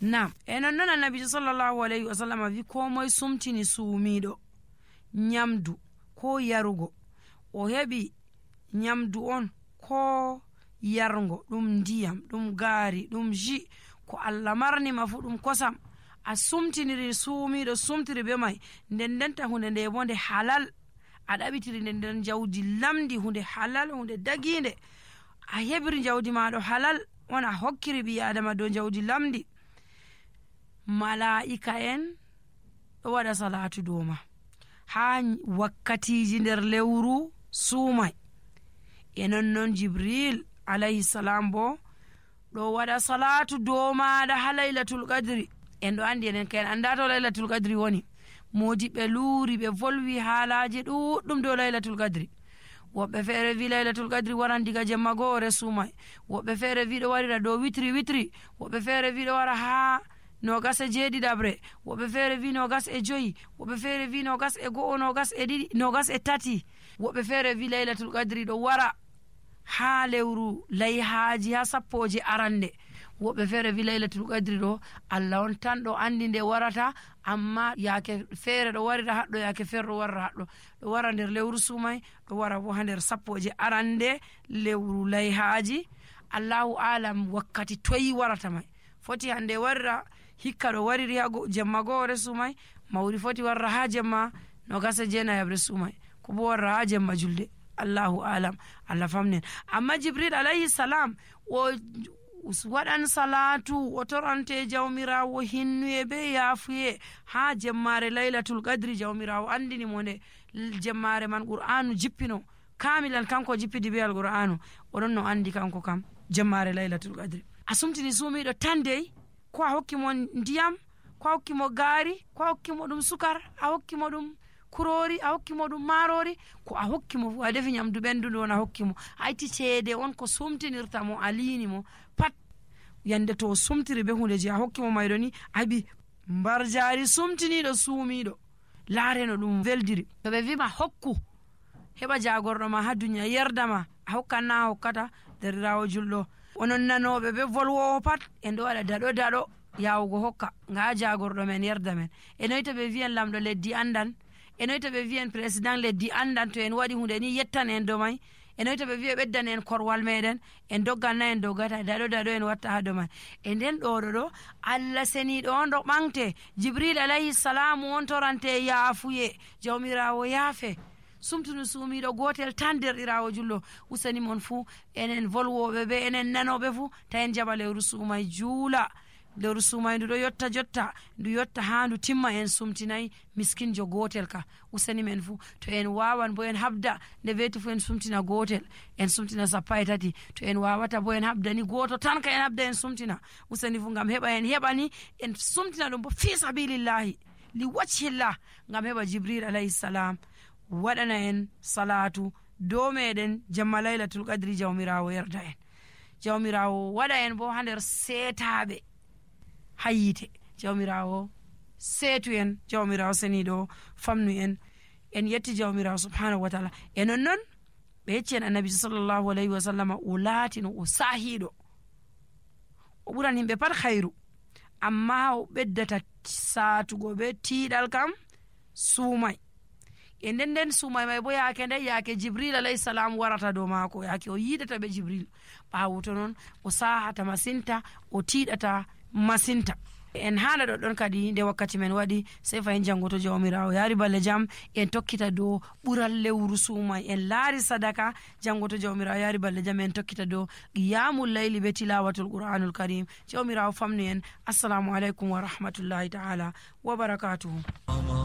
Naam, non annabijo sallallahu alaihi wasallam wi ko moye sumtini suumiɗo nyamdu ko yarugo o heɓi nyamdu on ko yargo ɗum ndiyam ɗum gaari ɗum ji ko Allah marnima fu ɗum kosam a sumtiniri suumiɗo sumtiri be mai ndendenta hunde nde bo nde halal a ɗaɓitiri nde nder jawdi lamdi hunde halal hunde daginde a heɓiri jawdi maɗo halal on a hokkiri ɓi adama dow jawdi lamdi mala'ika en ɗo waɗa salatu dow ma ha wakkatiji nder lewru suumai non Jibril alayhi salam bo ɗo waɗa salatu dow maɗa ha laylatul qadri en ɗo andi enen kayen anda to laylatul qadri woni modi ɓe luuri ɓe volwi haalaji ɗuɗɗum dow laylatul qadri woɓɓe feere wi laylatul qadri waran diga jemma goo resumai woɓɓe feere wi ɗo warira dow witri woɓɓe feere wi ɗo wara ha 27 woɓɓe feere wi 25 woɓɓe feere wi 21 22 23 woɓɓe feere wi laylatul qadri ɗo wara ha lewru layhaji ha sappoje arande woɓɓe feere wi laylatul qadri ɗo Allah on tan ɗo andi nde warata amma yaake feere ɗo warira haɗɗo yaake feere ɗo warira haɗɗo ɗo wara nder lewru sumai ɗo wara bo ha nder sappoje arande lewru layhaji Allahu alam wakkati toyi warata mai foti hande warira hikka ɗo wariri ha jemma goore sumai mawri foti warra ha jemma 29 sumai ko bo warra ha jemma julde Allahu alam Allah famnen amma Jibril alayhi salam o waɗan salatu o torante jawmirawo hinnuye be yaafuye ha jemmare laylatul qadri jawmirawo andini mo nde jemmare man qur'anu jippino kamilan kanko jippidi be alqur'anu oɗon no andi kanko kam jemmare laylatul qadri a sumtini suumiɗo tan dey ko a hokkimo ndiyam ko a hokkimo gaari ko a hokkimo ɗum sukar a hokkimo ɗum kurori a hokkimo ɗum marori ko a hokkimo fu a defi nyamdu ɓendudu on a hokkimo a itti ceede on ko sumtinirta mo a liini mo pat yande to sumtiri be hunde je a hokkimo mayɗo ni abi mbar jaari sumtiniɗo suumiɗo laareno ɗum weldiri to ɓe wima hokku heɓa jagorɗo ma ha duniya yerdama a hokkanna a hokkata derirawo julɗo onon nanoɓe be volwowo pat en ɗo waɗa daɗo yawugo hokka nga jagorɗo men yerda men enoyta ɓe wiyan lamɗo leddi andan enoyta ɓe wiyan président leddi andan to en waɗi hunde ni yettan en do may enoyta ɓe wiya ɓeddan en korwal meɗen en dogganna en doggata daɗo en watta ha do man e nden ɗo Allah seniɗo on ɗo ɓamte Jibril alayhi salamu on torante yaafuye jawmirawo yaafe sumtunu suumiɗo gotel tan derɗirawo jullo usani mon fuu enen volwoɓe be enen nanoɓe fuu ta en jaɓa lewru suumay juula lewru suumay ndu ɗo yotta jotta ndu yotta ha ndu timma en sumtinayi miskinjo gotel ka usani men fuu to en wawan bo en habda nde weti fuu en sumtina gotel en sumtina 13 to en wawata bo en habdani goto tan ka en habda en sumtina usani fuu ngam heɓa en heɓani en sumtina ɗum bo fi sabilillahi li wajhillah ngam heɓa Jibril alayhi salam waɗana en salatu dow meɗen jamma laylatul qadri jawmirawo yerda en jawmirawo waɗa en bo ha nder seetaɓe ha yite jawmirawo seetu en jawmirawo seniɗo famnu en yetti jawmirawo subhanahu wa taala e non ɓe yecci en annabi sallallahu alayhi wa sallam o laatino o saahiɗo o ɓuran himɓe pat hayru amma o ɓeddata saatugo be tiiɗal kam suumay e nden suumay may bo yaake nde yaake Jibril alayhi salam warata dow maako yaake o yiidata ɓe Jibril ɓaawo to noon o saahata masinta o tiiɗata masinta en haala ɗoɗɗon kadi nde wakkati men waɗi sey fayin janngoto jawmirawo yaari balle jam en tokkita dow ɓural lewru suumay en laari sadaka janngoto jawmirawo yaari balle jam en tokkita dow qiyamul layli be tilawatul qur'anul karim jawmirawo famnu en assalamu aleykum wa rahmatullahi ta'ala wa barakatuhu